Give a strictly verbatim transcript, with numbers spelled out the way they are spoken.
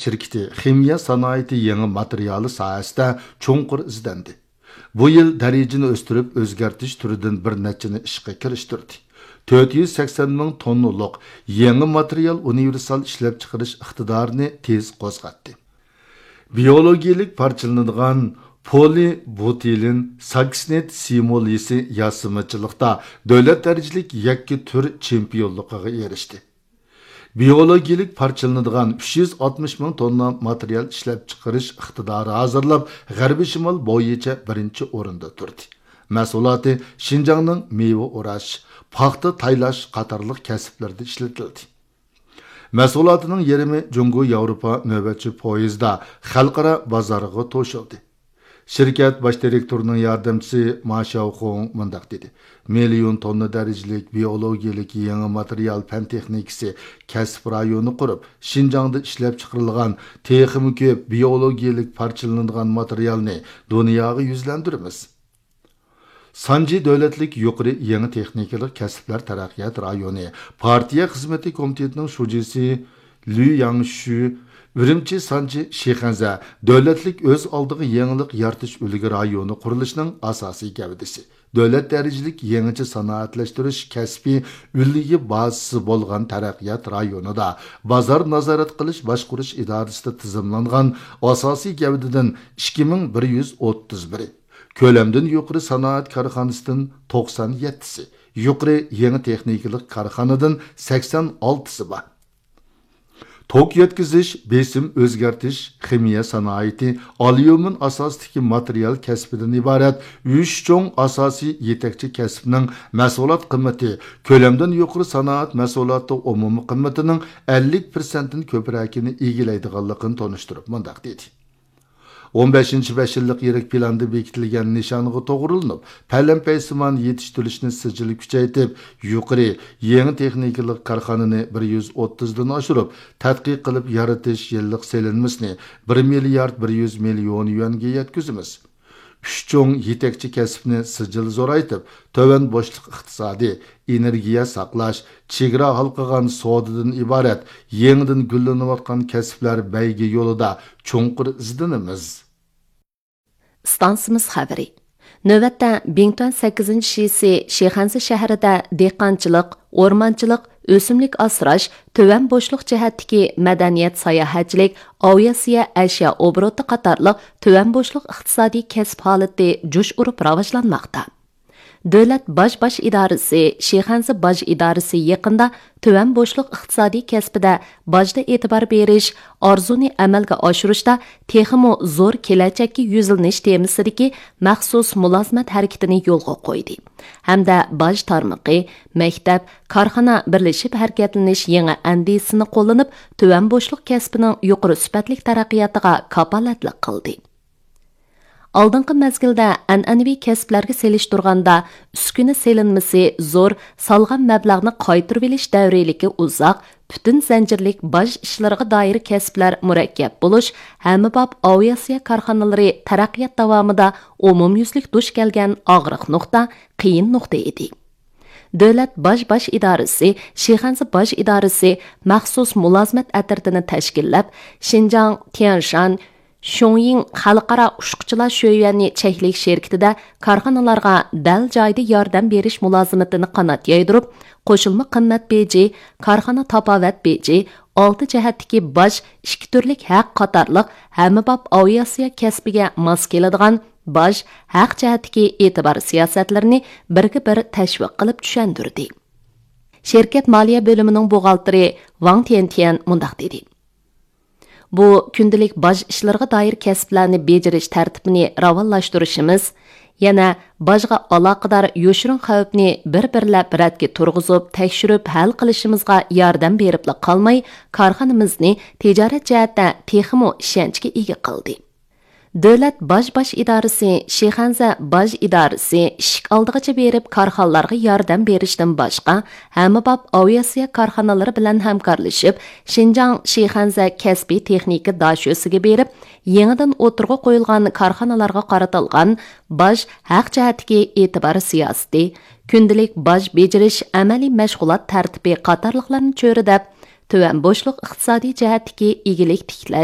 شىركىتى خىمىيە سانائىتى يېڭى ماتېرىيالى ساھەسىدە چوڭقۇر ئىزدەندى. بۇ يىل دەرىجىنى ئۆستۈرۈپ، ئۆزگەرتىش تۈرىدىن بىر نەچچىنى ئىشقا كىرىشتۈردى. تۆت يۈز سەكسەن مىڭ توننىلىق يېڭى ماتېرىيال ئۇنىۋېرسال ئىشلەپچىقىرىش ئىقتىدارىنى تېز قوزغاتتى. بىيولوگىيىلىك پارچىلىنىدىغان پولىبۇتىلېن ساكسنېت سىموليىسى ياسىمىچىلىقتا دۆلەت دەرىجىلىك يەككە تۈر چېمپىيونلۇقىغا ئېرىشتى. بىيولوگىيىلىك پارچىلىنىدىغان ئۈچ يۈز ئاتمىش مىڭ توننا ماتېرىيال ئىشلەپچىقىرىش ئىقتىدارى ھازىرلاپ، غەربىي شىمال بويىچە بىرىنچى ئورۇندا تۇردى. مەھسۇلاتى شىنجاڭنىڭ مېۋە ئوراش، پاختا تايلاش قاتارلىق كەسىپلەردە ئىشلىتىلدى. مەھسۇلاتىنىڭ يېرىمى جۇڭگو ياۋروپا نۆۋەتچى پويىزدا خەلقئارا بازارغا توشۇلدى. شىركەت باش دىرېكتورىنىڭ ياردەمچىسى ما شياۋخۇڭ مۇنداق دېدى: مىليون توننا دەرىجىلىك بىيولوگىيىلىك يېڭى ماتېرىيال پەن تېخنىكىسى كەسىپ رايونى قۇرۇپ، شىنجاڭدا ئىشلەپچىقىرىلغان تېخىمۇ كۆپ بىيولوگىيىلىك پارچىلىنىدىغان ماتېرىيالنى دۇنياغا يۈزلەندۈرىمىز. سانجى دۆلەتلىك يۇقىرى يېڭى تېخنىكىلىق كەسىپلەر تەرەققىيات رايونى پارتىيە خىزمىتى كومىتېتىنىڭ شۇجىسى لۈ ياڭشۈ ئۈرۈمچى سانجى شىخەنزە دۆلەتلىك ئۆز ئالدىغا يېڭىلىق يارىتىش ئۈلگە رايونى قۇرۇلۇشىنىڭ ئاساسىي گەۋدىسى، دۆلەت دەرىجىلىك يېڭىچە سانائەتلەشتۈرۈش كەسپىي ئۈلگە بازىسى بولغان تەرەققىيات رايونىدا بازار نازارەت قىلىش باشقۇرۇش ئىدارىسىدە تىزىملانغان ئاساسىي گەۋدىدىن ئىككى مىڭ بىر يۈز ئوتتۇز بىرى، كۆلەمدىن يۇقىرى سانائەت كارخانىسىدىن توقسان يەتتىسى، يۇقىرى يېڭى تېخنىكىلىق كارخانىدىن سەكسەن ئالتىسى بار. توك يەتكۈزۈش، بېسىم ئۆزگەرتىش، خىمىيە سانائىتى، ئاليۇمىن ئاساسىدىكى ماتېرىيال كەسپىدىن ئىبارەت ئۈچ چوڭ ئاساسىي يېتەكچى كەسىپنىڭ مەھسۇلات قىممىتى كۆلەمدىن يۇقىرى سانائەت مەھسۇلاتى ئومۇمىي قىممىتىنىڭ ئەللىك پىرسەنتتىن كۆپرەكىنى ئىگىلەيدىغانلىقىنى تونۇشتۇرۇپ مۇنداق دېدى: ئون بەشىنچى بەش يىللىق يىرىك پىلاندا بېكىتىلگەن نىشانغا توغرىلىنىپ، پەلەمپەيسىمان يېتىشتۈرۈشنى سىجىل كۈچەيتىپ، يۇقىرى، يېڭى تېخنىكىلىق كارخانىنى بىر يۈز ئوتتۇزدىن ئاشۇرۇپ، تەتقىق قىلىپ يارىتىش يىللىق سېلىنمىسىنى بىر مىليارد بىر يۈز مىليون يۈەنگە يەتكۈزىمىز. ئۈچ چوڭ يېتەكچى كەسىپنى سىجىل زورايتىپ، تۆۋەن بوشلۇق ئىقتىسادى، ئېنېرگىيە ساقلاش، چېگرا ھالقىغان سودىدىن ئىبارەت يېڭىدىن گۈللىنىۋاتقان كەسىپلەر بەيگە يولىدا چوڭقۇر ئىزدىنىمىز. ئىستانسىمىز خەۋىرى. نۆۋەتتە بىڭتۈەن سەككىزىنچى شىسى شىخەنزە شەھىرىدە دېھقانچىلىق، ئورمانچىلىق، ئۆسۈملۈك ئاسراش، تۆۋەن بوشلۇق جەھەتتىكى مەدەنىيەت، ساياھەتچىلىك، ئاۋىئاتسىيە، ئەشيا ئوبوروتى قاتارلىق تۆۋەن بوشلۇق ئىقتىسادىي كەسىپ ھالىتى جۇش ئۇرۇپ راۋاجلانماقتا. دۆلەت باج باش ئىدارىسى، شىخەنزە باج ئىدارىسى يېقىندا تۆۋەن بوشلۇق ئىقتىسادىي كەسپىدە باجدا ئېتىبار بېرىش، ئارزۇنى ئەمەلگە ئاشۇرۇشتا تېخىمۇ زور كېلەچەككە يۈزلىنىش تېمىسىدىكى مەخسۇس مۇلازىمەت ھەرىكىتىنى يولغا قويدى ھەمدە باج تارمىقى، مەكتەپ، كارخانا بىرلىشىپ ھەرىكەتلىنىش يېڭى ئەندىزىسىنى قوللىنىپ، تۆۋەن بوشلۇق كەسپىنىڭ يۇقىرى سۈپەتلىك تەرەققىياتىغا كاپالەتلىك قىلدى. ئالدىنقى مەزگىلدە ئەنئەنىۋى كەسىپلەرگە سېلىشتۇرغاندا، ئۈسكۈنە سېلىنمىسى زور، سالغان مەبلەغنى قايتۇرۇۋېلىش دەۋرىيلىكى ئۇزاق، پۈتۈن زەنجىرلىك باج ئىشلىرىغا دائىر كەسىپلەر مۇرەككەپ بولۇش، ھەممىباب ئاۋىئاتسىيە كارخانىلىرى تەرەققىيات داۋامىدا ئومۇميۈزلۈك دۇچ كەلگەن ئاغرىق نۇقتا، قىيىن نۇقتا ئىدى. دۆلەت باج باش ئىدارىسى، شىخەنزە باج ئىدارىسى مەخسۇس مۇلازىمەت ئەترىتىنى تەشكىللەپ، شىنجاڭ، تيەنشان، شۇڭيىڭ خەلقئارا ئۇچقۇچىلار شۆيۈەنى چەكلىك شىركىتىدە كارخانىلارغا دەل جايىدا ياردەم بېرىش مۇلازىمىتىنى قانات يايدۇرۇپ، قوشۇلما قىممەت بېجى، كارخانا تاپاۋەت بېجى، ئالتە جەھەتتىكى باج، ئىككى تۈرلۈك ھەق قاتارلىق ھەممىباب ئاۋىئاتسىيە كەسپىگە ماس كېلىدىغان باج، ھەق جەھەتتىكى ئېتىبار سىياسەتلىرىنى بىرگە بىر تەشۋىق قىلىپ چۈشەندۈردى. شىركەت مالىيە بۆلۈمىنىڭ بوغالتىرى ۋاڭ تيەنتيەن مۇنداق دېدى: بۇ كۈندىلىك باج ئىشلىرىغا دائىر كەسىپلەرنى بېجىرىش تەرتىپىنى راۋانلاشتۇرۇشىمىز، يەنە باجغا ئالاقىدار يوشۇرۇن خەۋپنى بىر-بىرلەپ رەتكە تۇرغۇزۇپ، تەكشۈرۈپ ھەل قىلىشىمىزغا ياردەم بېرىپلا قالماي، كارخانىمىزنى تىجارەت جەھەتتە تېخىمۇ ئىشەنچكە ئىگە قىلدى. دۆلەت باج باش ئىدارىسى، شىخەنزە باج ئىدارىسى ئىشىك ئالدىغىچە بېرىپ كارخانىلارغا ياردەم بېرىشتىن باشقا، ھەممىباب ئاۋىئاتسىيە كارخانىلىرى بىلەن ھەمكارلىشىپ، شىنجاڭ شىخەنزە كەسپىي تېخنىكا داشۆسىگە بېرىپ، يېڭىدىن ئوتتۇرىغا قويۇلغان كارخانىلارغا قارىتىلغان باج ھەق جەھەتتىكى ئېتىبار سىياسىتى، كۈندىلىك باج بېجىرىش ئەمەلىي مەشغۇلات تەرتىپى قاتارلىقلارنى چۆرىدەپ، تۆۋەن بوشلۇق ئىقتىسادىي جەھەتتىكى ئىگىلىك تىكلەش،